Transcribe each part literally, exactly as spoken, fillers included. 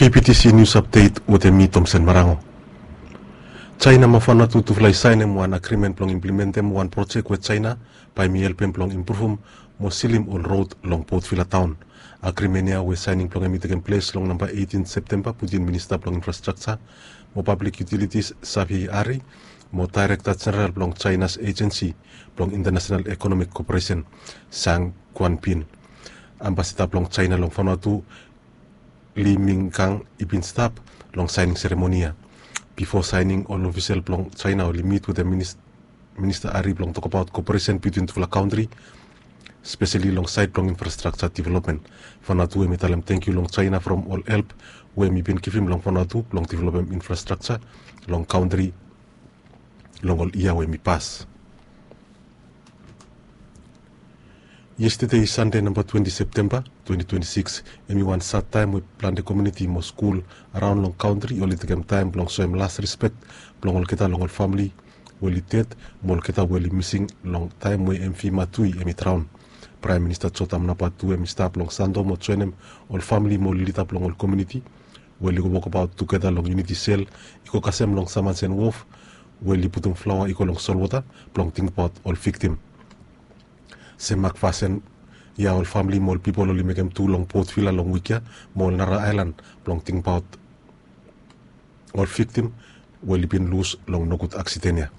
B B T C News Update wetem mi, Tomsen Marango. China mo Vanuatu tufala i saenem wan agrimen blong implimentem wan projek we China bae hemi helpem blong impruvum mo silim ol rod long Port Vila taon. Agrimen ya we saening blong hem i tekem ples long namba eighteen Septemba, bitiwin Minista blong Infrastrakja mo Pablik Yutilitis, Xavier Ari, mo Daerekta Jeneral blong China Ajensi blong Intanasenal Ekonomik Koperesen, Zhang Guanpin. Ambasada blong China long Vanuatu, Li Mingkang, i bin stap long saening seremoni ya. Bifo saening, ol ofisel blong China oli mit wetem Minis-, Minista Ari blong tokbaot koperesen bitiwin tufala kantri, speseli long saed blong infrastrakja developmen. Vanuatu hemi talem tangkiu long China from ol help we hemi bin givim long Vanuatu blong developem infrastrakja long kantri long ol yia we hemi pas. Yestede, Sande namba twenti Septemba twenti twenti sikis, hemi wan sad taem we plante komuniti mo skul araon long kantri oli tekem taem blong soem las rispek blong olgeta long ol famili we oli ded mo olgeta we oli mising long taem we M V Matui hemi draon. Praem Minista Jotam Napat tu hemi stap long Santo mo joenem ol famili mo ol lida blong ol komuniti we oli go wokbaot tugeta long Unity Cell i go kasem long Samansen Wof we oli putum flaoa i go long solwota blong tingbaot ol viktim. Sem mak fasin ya ol famili mo ol pipol oli mekem tu long Port Vila long wik ya mo ol nara aelan blong tingbaot ol viktim we oli bin lus long nogud aksiden ya.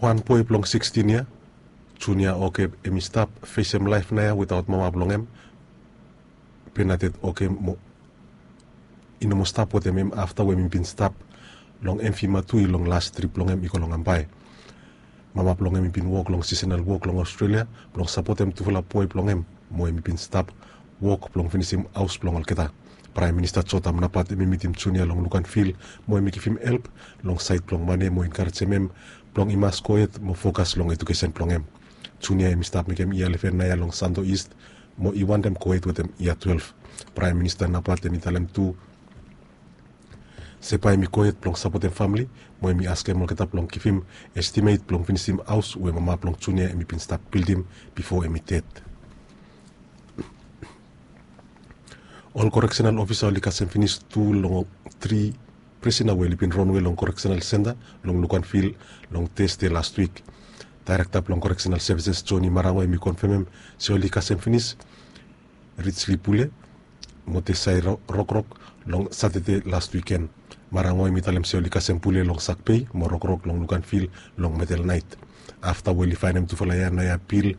Wan boe blong sikstin yia, Junior Oke, hemi stap fesem laef naoia wetaot mama blong hem, Bernadette Oke, mo i no moa stap wetem hem afta we hemi bin stap long M V Matui long las trip blong hem i go long Ambae. Mama blong hem i bin wok long sisenal wok long Australia blong sapotem tufala boe blong hem, mo hemi bin stap wok blong finisim haos blong olgeta. Praem Minista Jotam Napat hemi mitim Junior long Luganville mo hemi givim help long saed blong mane mo enkarejem hem blong i mas gohed mo fokas long ejukesen blong hem. Junior hemi stap mekem yia leven naoia long Santo East mo i wantem gohed wetem yia twelef. Praem Minista Napat hemi talem tu se bae hemi gohed blong sapotem famili mo hemi askem olgeta blong givim estimet blong finisim haos we mama blong Junior hemi bin stap bildim bifo hemi ded. Ol koreksenal ofisa oli kasem finis tu long tri prisona we oli bin ronwe long koreksenal senta long Luganville long Tasde laswik. Daerekta blong Koreksenal Sevises, Johnny Marango, hemi konfemem se oli kasem finis Richly Pule mo Tesai Ro-, Rokrok long Satade las wiken. Marango hemi talem se oli kasem Pule long sakbei mo Rokrok long Luganville long medel naet. Afta we oli faenem tufala ya naoia Bill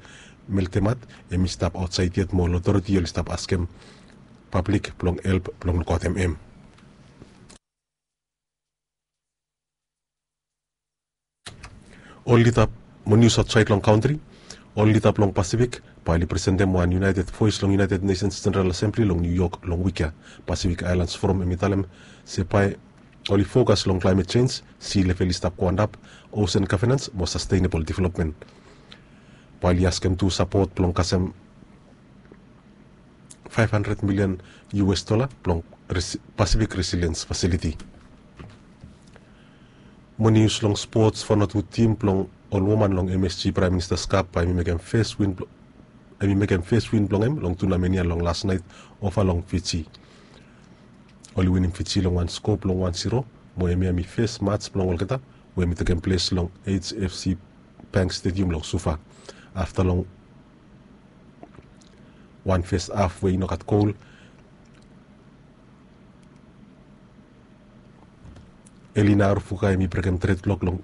Meltemat hemi stap aotsaed yet mo ol otoreti oli stap askem pablik blong help blong lukaotem hem. Ol lida mo nius aotsaed long kantri. Ol lida blong Pasifik bae oli presentem wan iunaeted voes long United Nations General Assembly long New York long wik ya. Pacific Islands Forum hemi talem se bae oli fokas long klaemet jenj, si level i stap go antap, osen gavenans mo sastenebol developmen. Bae oli askem tu sapot blong kasem faef handred milian U S dola blong Resi-, Pacific Resilience Facility. Mo nius long spots, Vanuatu tim blong ol woman long M S G Praem Minista's Cup bae hemi mekem fes win blo-, hemi mekem fes win blong hem long tunamen ya long las naet ova long Fiji. Oli winim Fiji long wan sko blong wan ziro mo hemia hemi fes maj blong olgeta we hemi tekem ples long H F C Bank Stadium long Suva. Afta long wan fes haf we i no gat gol, Elina Arufuka hemi brekem tred blok long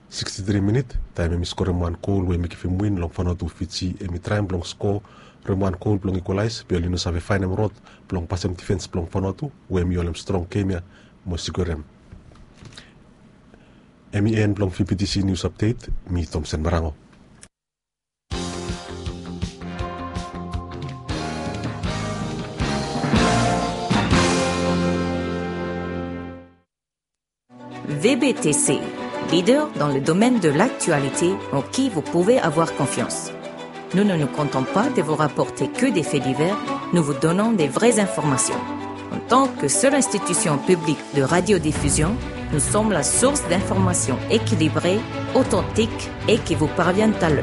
sikstitri minit taem hemi skorem wan gol we hemi givim win long Vanuatu. Fiji hemi traem blong skorem wan gol blong ikwalaes be oli no save faenem rod blong pasem difens blong Vanuatu we hemi holem strong gem ya mo skorem. Hemi en blong V B T C News Update, mi Tomsen Marango. V B T C, leader dans le domaine de l'actualité en qui vous pouvez avoir confiance. Nous ne nous contentons pas de vous rapporter que des faits divers, nous vous donnons des vraies informations. En tant que seule institution publique de radiodiffusion, nous sommes la source d'informations équilibrées, authentiques et qui vous parviennent à l'heure.